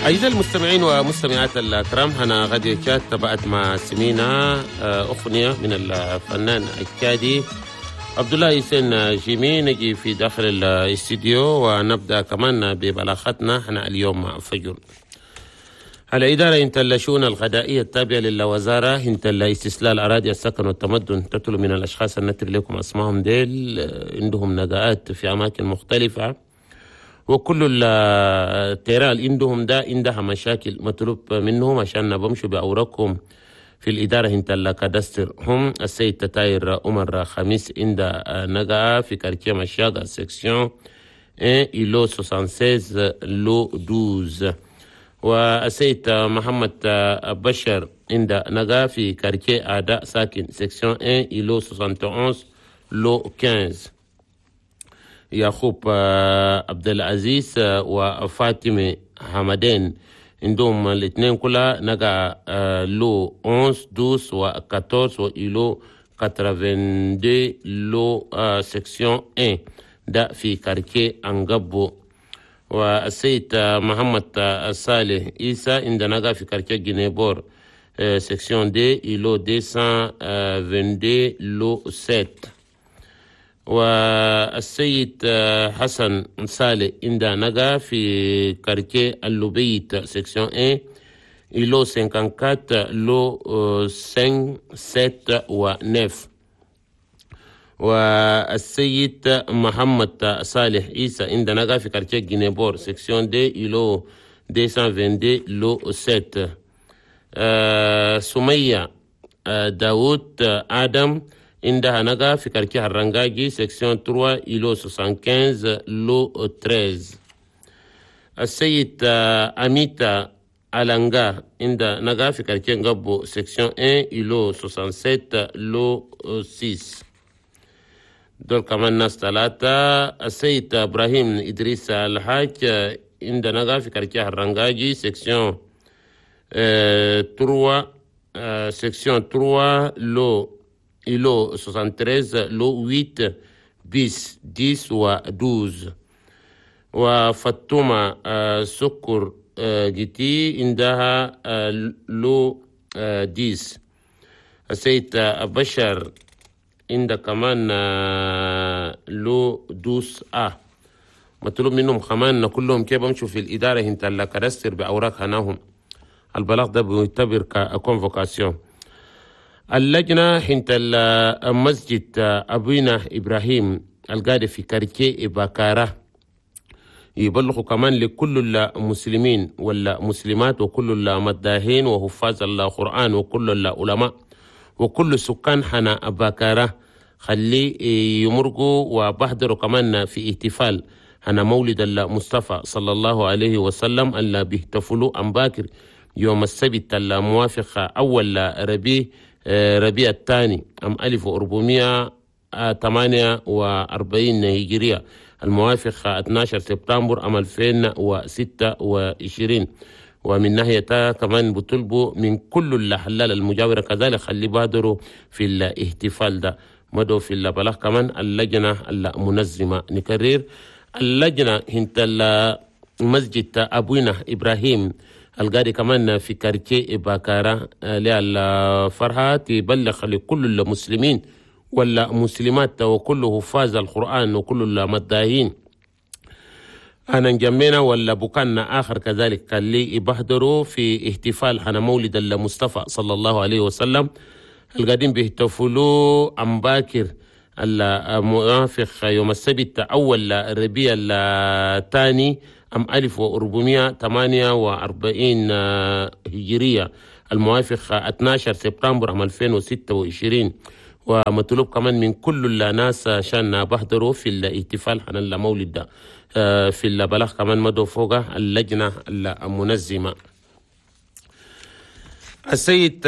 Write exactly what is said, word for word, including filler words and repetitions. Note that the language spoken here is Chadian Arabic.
أعزائي المستمعين ومستمعات الكرام، هنا غادي تشاد تبعت مع سمينا أغنية من الفنان التشادي عبد الله حسين جيمي. نجي في داخل الاستديو ونبدأ كمان ببلاغتنا هنا اليوم فجر. الإدارة انت الشؤون الغذائية التابعة للوزارة انت استسلال أراضي السكن والتمدن تطلب من الأشخاص النتر لكم أسمائهم ديل عندهم نقاءات في أماكن مختلفة، وكل التيران اللي عندهم ده عندها مشاكل مطلوب منهم عشان بمشوا بأوراقهم في الإدارة انت ال cadastre. هم السيد تتاير عمر خميس عند نقا في quartier مشاقة section واحد îlot ستة وستين lot اثنا عشر، والسيد محمد بشر عند نقا في quartier أداء ساكن section واحد îlot واحد وستين lot خمسة عشر. يعقوب عبد العزيز وفاطمة حمدين عندهم الاثنين كلها نقا lot حداش اثنا عشر و أربعة عشر و îlot اثنين وثمانين lot section واحد ده في quartier أنقبو. والسيد محمد صالح عيسى عندنا نقا في quartier جنيبور section deux îlot مئتين واثنين وعشرين lot سبعة. والسيد حسن صالح عند نقا في quartier اللوبيت section واحد îlot أربعة وخمسين lot خمسة سبعة و تسعة. والسيد محمد صالح عيسى عند نقا في quartier جينيبور section deux îlot مئتين واثنين وعشرين lot سبعة. آه سمية آه داوود آدم عندها نقا في quartier الرنجاجي section ثلاثة îlot خمسة وستين lot ثلاثة عشر. السيد أميتا ألانغا عند نقا في quartier نقبو section واحد îlot سبعة وستين lot ستة. دول كمان ناس ثلاثة. السيد إبراهيم إدريس الحاج عند نقا في quartier الرنجاجي section ثلاثة section ثلاثة lot îlot تلاتة وستين lot ثمانية bis عشرة و اثنا عشر. وفاطمة سكر جيتي عندها lot عشرة. السيد بشر عند كمان lot douze A. مطلوب منهم كمان كلهم كيف بمشوا في الإدارة انت ال cadastre بأوراق هناهم. البلاغ ده بيعتبر ك convocation. اللجنة حنت المسجد أبونا إبراهيم القاعدة في quartier باكارة يبلغوا كمان لكل المسلمين والمسلمات وكل المداهين وحفاظ القرآن وكل العلماء وكل سكان حنا باكارة خلي يمرقوا وبحضروا كمان في احتفال هنا مولد المصطفى صلى الله عليه وسلم اللي بيحتفلوا أم باكر يوم السبت الموافق أول ربيع ربيع الثاني عام ألف وأربعمائة وثمانية وأربعين هجرية الموافق اثنا عشر سبتمبر عام ألفين وستة وعشرين. ومن ناحية كمان بطلبوا من كل الحلال المجاورة كذلك خلي بادروا في الاحتفال ده. مدوا في البلاغ كمان اللجنة المنظمة. نكرر، اللجنة هنت المسجد أبونا إبراهيم القاري كمان في quartier باكارا للفرحة تبلغ لكل المسلمين والمسلمات وكل حفاظ القرآن وكل المداهين أنا نجمينا ولا بكان آخر كذلك اللي يبهدروا في احتفال حنا مولد المصطفى صلى الله عليه وسلم القادم بيحتفلوا أم باكر الموافق يوم السبت أول ربيع الثاني عام ألف وأربعمائة وثمانية وأربعين هجرية الموافق اثنا عشر سبتمبر عام ألفين وستة وعشرين. ومطلوب كمان من كل الناس عشان بحضروا في الاحتفال عن المولد ده. في البلاغ كمان مدوا فوق اللجنة المنظمة. السيد